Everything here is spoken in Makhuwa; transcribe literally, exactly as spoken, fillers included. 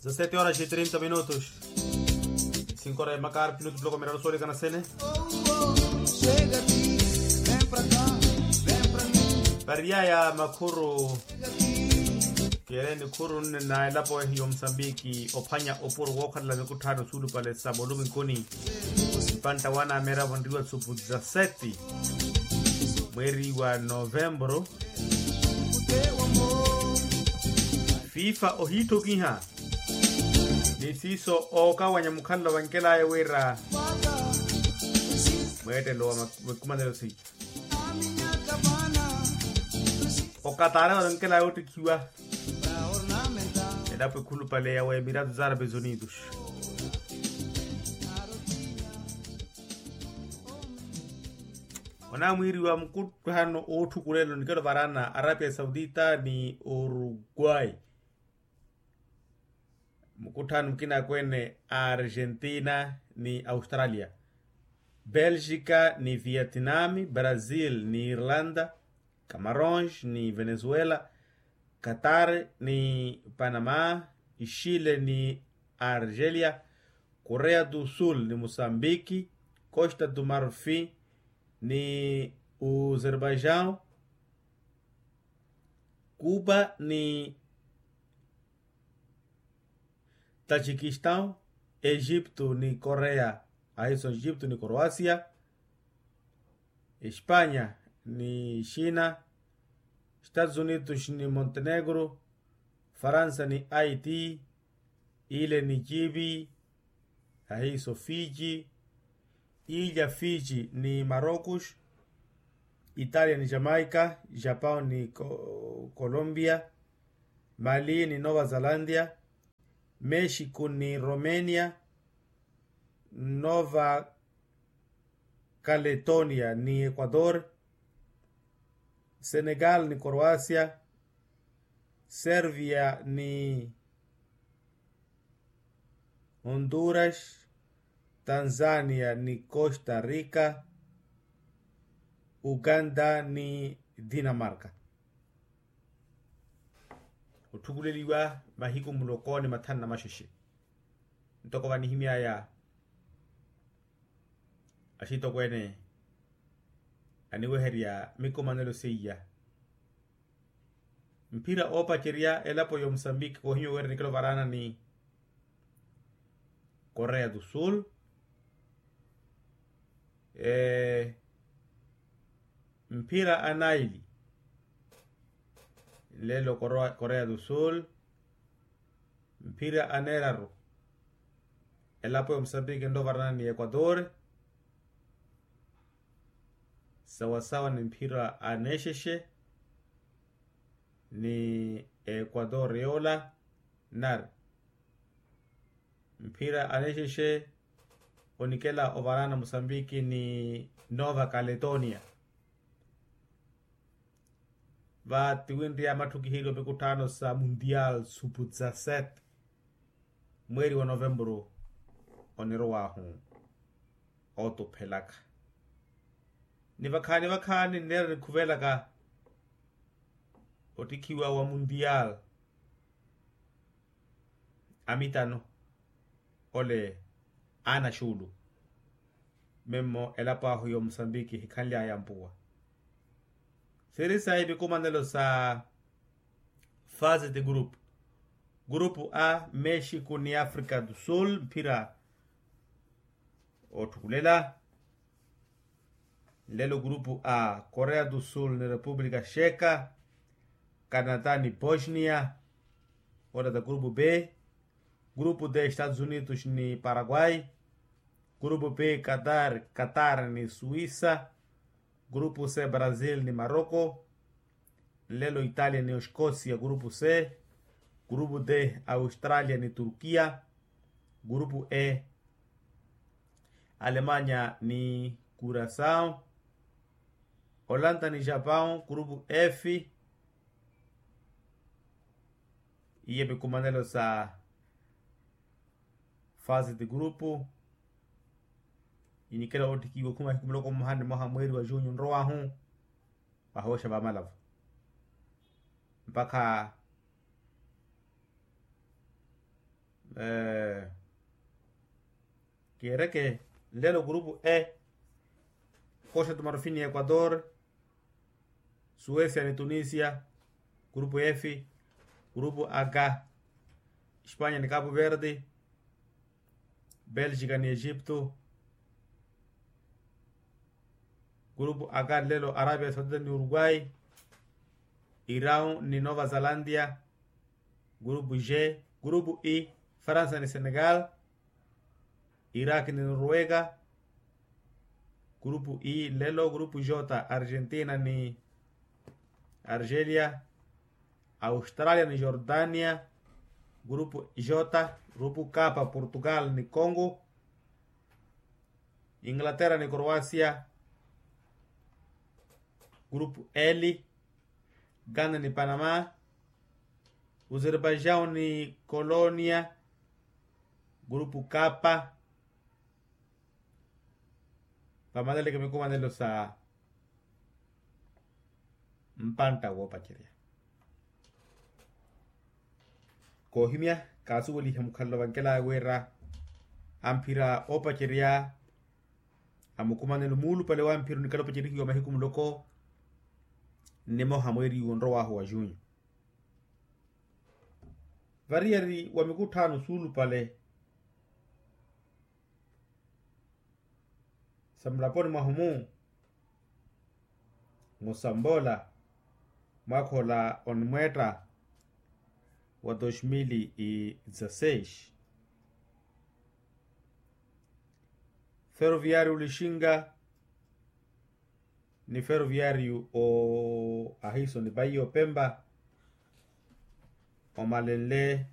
Sete horas e trinta minutos. Cinco horas e makar minutos bloco miraro sole kana sene. Pariyaya makhuru. Kiyereni khuru nne na elapo ehi yo musambiki ophwanya opuro wookhalela mikutthano suulupale sa moluminkuni. Pantta wana ameera vonriwa supu za seti. Mweeri wa novembru. Fifa ohiitthokiha ni siiso ookawanya mukhalelo vankelaya wira mweettelo wa mikumanelo seiya. Okatare vankelaya ottikhiwa elapo ekhulupale ya wemiratu za arabe zunidos. Onamwiiriwa mukutthano ootthukulela onikelo varana arabia saudita ni uruguay. Mukutthano mukina akweene a argentina ni australia, belgica ni vietnami, brazil ni irlanda, camarons ni venezuela, qatar ni panama, chile ni argelia, korea do sul ni musambiki, costa do marfi ni uzerbaijao, cuba ni tajikistan, egipto ni korea, ahiso egipto ni koroasia, espanya ni xina, estados unidos ni montenegro, faransa ni aiti, ile ni kibi, ahiso fiji, ilya fiji ni marocos, italia ni jamaica, japao ni colombia, mali ni nova zelandia, mexico ni romenia, nova caletonia ni ecuador, senegal ni koroasia, servia ni honduras, tanzania ni costa rica, uganda ni dinamarka. Otthukuleliwa mahiku muloko ni mathanu na maxexe. Ntoko vanihimy'aya axitokweene aniweherya mikumanelo seiya. Mphira oopacerya elapo ya omusambiki koohimya wira nikelo varaana ni korea do sul. Mphira anaili nlelo korea do sul. Mphira aneeraru elapo ya omusambiki nlo varaana ni equator. Sawasawa ni mphira aneexexe ni equator yoola nari mphira aneexexe onikela ovaraana musambiki ni nova caletonia. Va tiwinriya matthu kiheriwa mikutthano sa mundial supu za set mweeri wa novemburu onirowaahu ootuphelaka. Ni vakhaani vakhaani nneera nikhuvelaka ottikhiwa wa mundial amitano ole aana xuulu. Memmo elapo ahu ya omusambiki ehikhanly'aya mpuwa. Siri sayi mikumanelo sa fase ti grupu. Grupu a mexico ni africa do sul mphira ootthukulela. Nlelo grupu a korea do sul ni república checa, canada ni bosnia. Ola ta grupu b. Grupu d estados unidos ni paraguay. Grupu b qatar ni suisa. Grupu c brazil ni maroko. Nlelo italia ni oskosia grupu c. Grupu d australia ni turkia. Grupu e alemanya ni kurasao. Olanta ni japao grupu f. Iye mikumanelo sa fase ti grupu inikela oottikiwa okhuma hikumuloko mmoha ni mmoha mweeri wa junyu nrowahu. Vahooxa vamalavu mpakha Kiireke nlelo kurupu e, kosta tumarufini equador, suecia ni tunisia, kurupu f, kurupu h, espanya ni kapu verdi, belgica ni egipto, kurupu h nlelo arabia saudita ni uruguay, irau ni nova zalandia, kurupu g, kurupu i, faransa ni senegal, iraki ni noruega, kurupu i nlelo kurupu j, argentina ni argelia, australia ni jordania, kurupu j, kurupu k, portugal ni congo, inglaterra ni croasia, kurupu l, ghana ni panama, uzerbaijau ni kolonia, kurupu k. Vamaleleke mikumanelo sa mpantta woopacerya. Koohimya, kaasuweliha mukhalelo vankelaya wira amphira oopacerya a mukumanelo muulupale wa mphira onikhala opacerihiwa mahiku muloko nimoha mweeri wonrow'ahu wa junho. Variyari wa mikutthaano suulupale sa mulaponi mwahu-mu, musamboola mwaakha ola onimweetta wa dos mil e dezasseis. Ferroviario lixinga ni ferroviario o ahiso ni paiya opempa omalenle